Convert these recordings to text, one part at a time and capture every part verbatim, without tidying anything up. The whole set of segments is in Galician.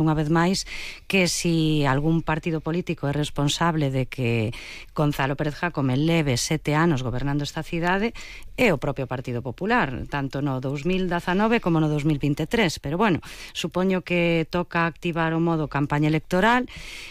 unha vez máis que si algún partido político é responsable de que Gonzalo Pérez Jácome leve sete anos gobernando esta cidade, é o propio Partido Popular, tanto no dous mil dezanove como no dous mil vinte e tres. Pero bueno, supoño que toca activar o modo campaña electoral.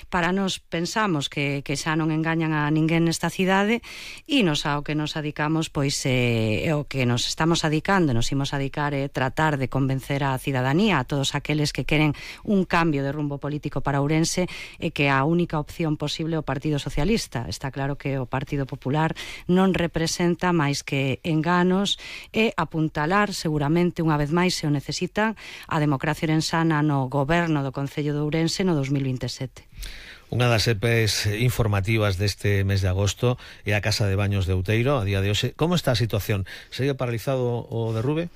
Para nos pensamos que, que xa non engañan a ninguén nesta cidade, e nos ao que nos adicamos, pois é eh, o que nos estamos adicando, nos imos adicar é eh, tratar de convencer a cidadanía, a todos aqueles que queren un cambio de rumbo político para Ourense, e que a única opción posible é o Partido Socialista. Está claro que o Partido Popular non representa máis que enganos e apuntalar, seguramente unha vez máis se o necesitan, a democracia orensana no goberno do Concello de Ourense no dous mil vinte e sete. Unha das E Pes informativas deste mes de agosto é a Casa de Baños de Outeiro, a día de hoxe. Como está a situación? Segue paralizado o derrube?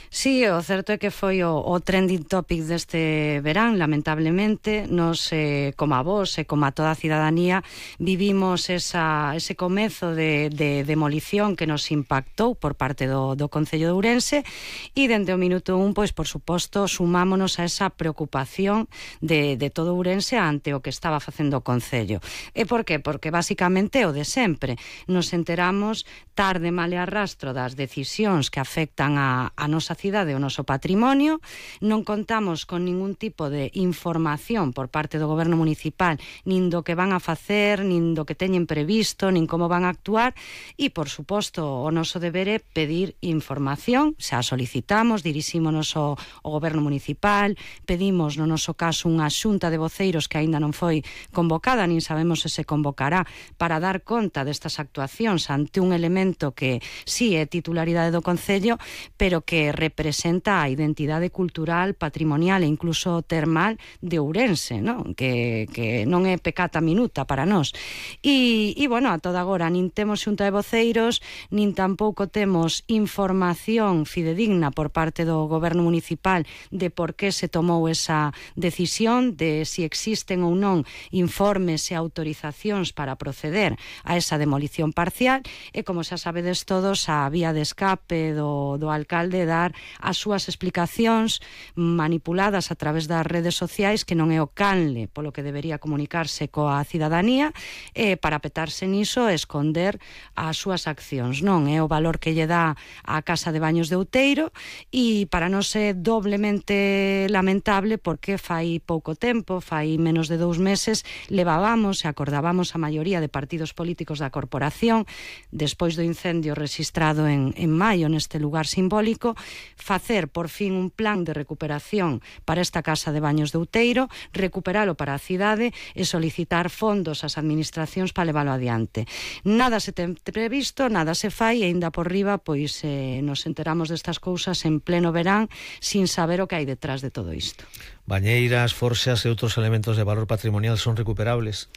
Sí, o certo é que foi o, o trending topic deste verán, lamentablemente. Nos, eh, como a vos e como a toda a cidadanía, vivimos esa, ese comezo de, de demolición que nos impactou por parte do, do Concello de Ourense, e dende o minuto un, pois, por suposto, sumámonos a esa preocupación de, de todo Ourense ante o que estaba facendo o Concello. E por qué? Porque basicamente o de sempre. Nos enteramos tarde, mal e arrastro das decisións que afectan a, a nosa cidade, o noso patrimonio. Non contamos con ningún tipo de información por parte do goberno municipal, nin do que van a facer, nin do que teñen previsto, nin como van a actuar, e, por suposto, o noso deber é pedir información. Xa solicitamos, dirixímonos ao, ao goberno municipal, pedimos, no noso caso, unha xunta de voceiros que aínda non foi convocada, nin sabemos se se convocará, para dar conta destas actuacións ante un elemento que sí é titularidade do Concello, pero que representa a identidade cultural, patrimonial e incluso termal de Ourense, non? Que, que non é pecata minuta para nós. E, e, bueno, a toda agora nin temos xunta de voceiros, nin tampouco temos información fidedigna por parte do goberno municipal de por que se tomou esa decisión, de si existen ou non informes e autorizacións para proceder a esa demolición parcial. E, como xa sabedes todos, a vía de escape do, do alcalde dar as súas explicacións manipuladas a través das redes sociais, que non é o canle polo que debería comunicarse coa cidadanía, e para petarse niso e esconder as súas accións. Non é o valor que lle dá a Casa de Baños de Outeiro, e para nós é doblemente lamentable porque fai pouco tempo, fai menos de dous meses, levábamos e acordábamos a maioría de partidos políticos da corporación, despois do incendio registrado en, en maio neste lugar simbólico, facer por fin un plan de recuperación para esta Casa de Baños de Outeiro, recuperalo para a cidade e solicitar fondos ás administracións para leválo adiante. Nada se ten previsto, nada se fai, e ainda por riba pois eh, nos enteramos destas cousas en pleno verán sin saber o que hai detrás de todo isto. Bañeiras, forxas e outros elementos de valor patrimonial son recuperables?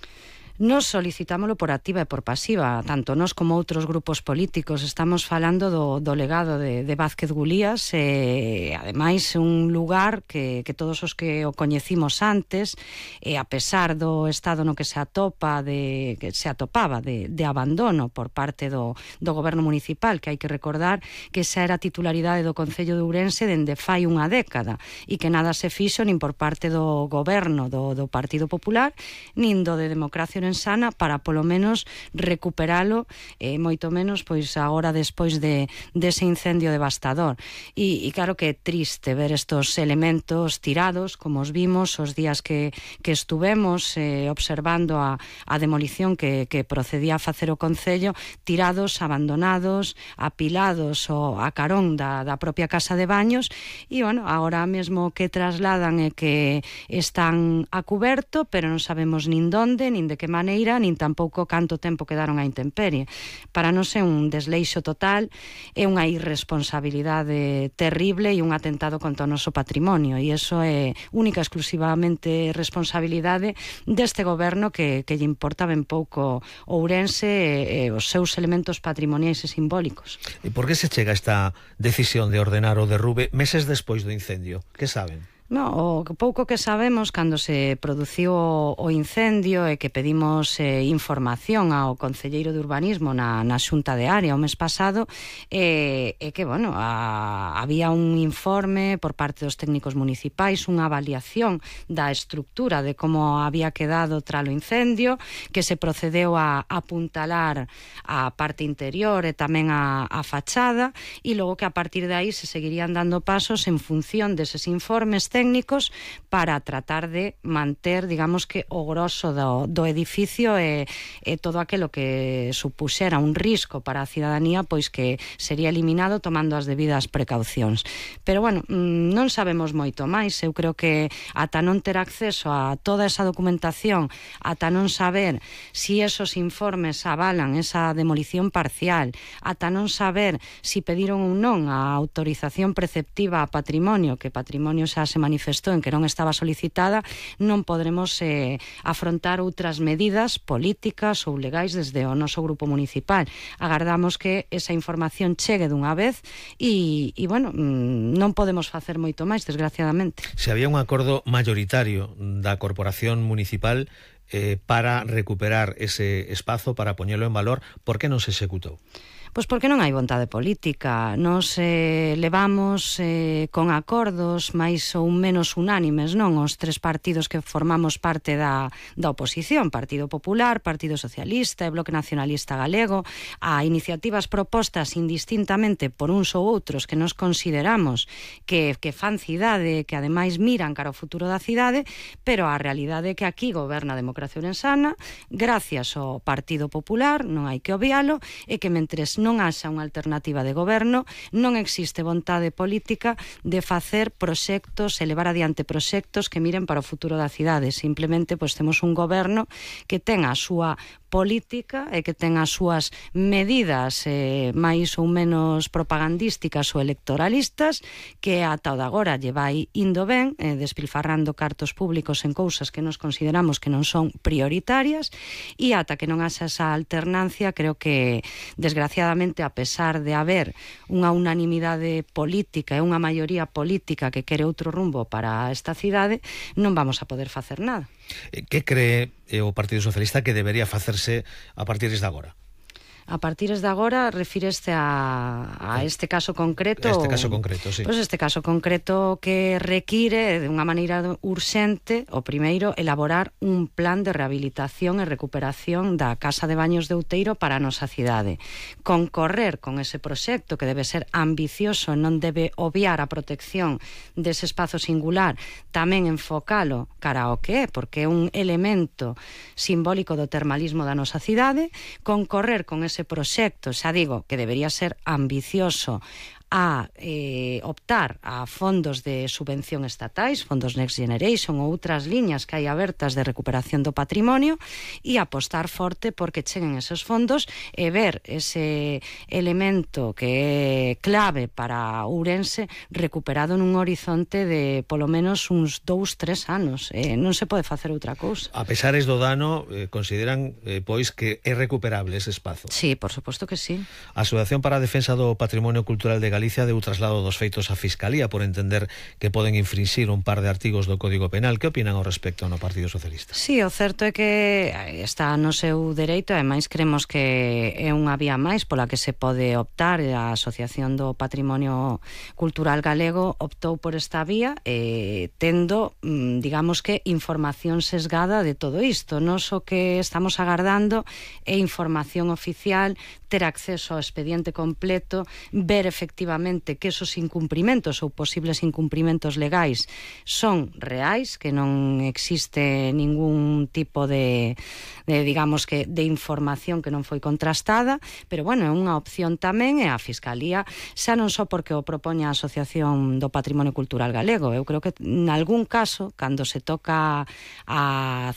Nos solicitámolo por activa e por pasiva, tanto nós como outros grupos políticos. Estamos falando do, do legado de, de Vázquez Gulías, e ademais un lugar que, que todos os que o coñecimos antes, e a pesar do estado no que se atopa de, que se atopaba de, de abandono por parte do, do goberno municipal, que hai que recordar que xa era titularidade do Concello de Ourense dende fai unha década, e que nada se fixo nin por parte do goberno do, do Partido Popular, nin do de Democracia Orensana para polo menos recuperalo, e moito menos pois agora despois de dese incendio devastador. E, e claro que é triste ver estos elementos tirados, como os vimos os días que, que estuvemos eh, observando a, a demolición que, que procedía a facer o Concello, tirados, abandonados, apilados o a carón da, da propia Casa de Baños. E, bueno, agora mesmo que trasladan é que están a cuberto, pero non sabemos nin donde, nin de que maneira, nin tampouco canto tempo quedaron a intemperie. Para nós é un desleixo total, é unha irresponsabilidade terrible e un atentado contra o noso patrimonio, e iso é única e exclusivamente responsabilidade deste goberno que, que lle importa ben pouco Ourense e, e os seus elementos patrimoniais e simbólicos. E por que se chega a esta decisión de ordenar o derrube meses despois do incendio? Que saben? No, o pouco que sabemos cando se produciu o, o incendio e que pedimos eh, información ao Concelleiro de Urbanismo na, na Xunta de Área o mes pasado, é eh, que, bueno, a, había un informe por parte dos técnicos municipais, unha avaliación da estructura de como había quedado tras o incendio, que se procedeu a apuntalar a parte interior e tamén a, a fachada, e logo que a partir de aí se seguirían dando pasos en función deses informes técnicos técnicos para tratar de manter, digamos que, o grosso do, do edificio e, e todo aquilo que supuxera un risco para a cidadanía, pois que sería eliminado tomando as debidas precaucións. Pero, bueno, non sabemos moito máis. Eu creo que ata non ter acceso a toda esa documentación, ata non saber si esos informes avalan esa demolición parcial, ata non saber si pediron ou non a autorización preceptiva a patrimonio, que patrimonio xa se manifestou en que non estaba solicitada, non podremos eh, afrontar outras medidas políticas ou legais desde o noso grupo municipal. Agardamos que esa información chegue dunha vez e, e bueno, non podemos facer moito máis, desgraciadamente. Se había un acordo mayoritario da Corporación Municipal eh, para recuperar ese espazo, para poñelo en valor, por que non se executou? Pois porque non hai vontade política. Nos eh, levamos eh, con acordos máis ou menos unánimes, non? Os tres partidos que formamos parte da, da oposición, Partido Popular, Partido Socialista e Bloque Nacionalista Galego, a iniciativas propostas indistintamente por uns ou outros que nos consideramos que, que fan cidade, que ademais miran cara ao futuro da cidade, pero a realidade é que aquí goberna a democracia ourensana, gracias ao Partido Popular, non hai que obvialo, e que mentres non haxa unha alternativa de goberno, non existe vontade política de facer proxectos e levar adiante proxectos que miren para o futuro da cidade. Simplemente, pois, temos un goberno que ten a súa política e que ten as súas medidas eh, máis ou menos propagandísticas ou electoralistas, que ata o de agora lle vai indo ben, eh, despilfarrando cartos públicos en cousas que nos consideramos que non son prioritarias, e ata que non haxa esa alternancia, creo que, desgraciadamente, a pesar de haber unha unanimidade política e unha maioría política que quere outro rumbo para esta cidade, non vamos a poder facer nada. Que cree o Partido Socialista que debería facerse a partir de agora? A partir de agora, refíreste a, a este caso concreto? Este caso concreto, sí. Pois este caso concreto que require, de unha maneira urxente, o primeiro, elaborar un plan de rehabilitación e recuperación da Casa de Baños de Outeiro para a nosa cidade. Concorrer con ese proxecto, que debe ser ambicioso, non debe obviar a protección dese espazo singular, tamén enfocalo cara ao que é, porque é un elemento simbólico do termalismo da nosa cidade, concorrer con ese proxecto, xa digo, que debería ser ambicioso, a eh, optar a fondos de subvención estatais, fondos Next Generation ou outras liñas que hai abertas de recuperación do patrimonio, e apostar forte porque cheguen esos fondos e ver ese elemento que é clave para Ourense recuperado nun horizonte de polo menos uns dous, tres anos. Eh, non se pode facer outra cousa. A pesares do dano, eh, consideran eh, pois que é recuperable ese espazo? Sí, por suposto que sí. A Asociación para a Defensa do Patrimonio Cultural de Galicia Galicia deu traslado dos feitos á Fiscalía por entender que poden infringir un par de artigos do Código Penal. Que opinan ao respecto no Partido Socialista? Sí, o certo é que está no seu dereito, ademais creemos que é unha vía máis pola que se pode optar. A Asociación do Patrimonio Cultural Galego optou por esta vía, eh, tendo, digamos que, información sesgada de todo isto. Nos o que estamos agardando é información oficial, ter acceso ao expediente completo, ver efectivamente que esos incumprimentos ou posibles incumprimentos legais son reais, que non existe ningún tipo de, de digamos que, de información que non foi contrastada, pero bueno, é unha opción tamén, e a Fiscalía, xa non só porque o propoña a Asociación do Patrimonio Cultural Galego, eu creo que en algún caso, cando se toca a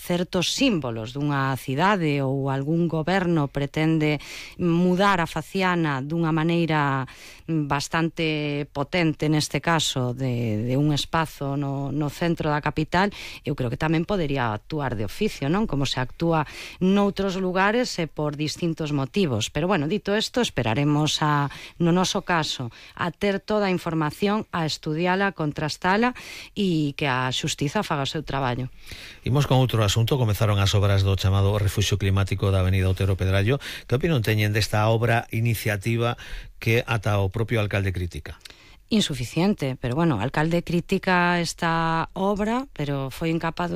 certos símbolos dunha cidade ou algún goberno pretende mudar a faciana dunha maneira bastante bastante potente neste caso de, de un espazo no, no centro da capital, eu creo que tamén podería actuar de oficio, non? Como se actúa noutros lugares e por distintos motivos. Pero bueno, dito isto, esperaremos a, no noso caso, a ter toda a información, a estudiala, contrastala e que a xustiza faga o seu traballo. Imos con outro asunto. Comezaron as obras do chamado Refuxio Climático da Avenida Otero Pedrallo. Que opinión teñen desta obra, iniciativa que ata o propio alcalde critica? Insuficiente, pero bueno, o alcalde critica esta obra, pero foi incapaz durante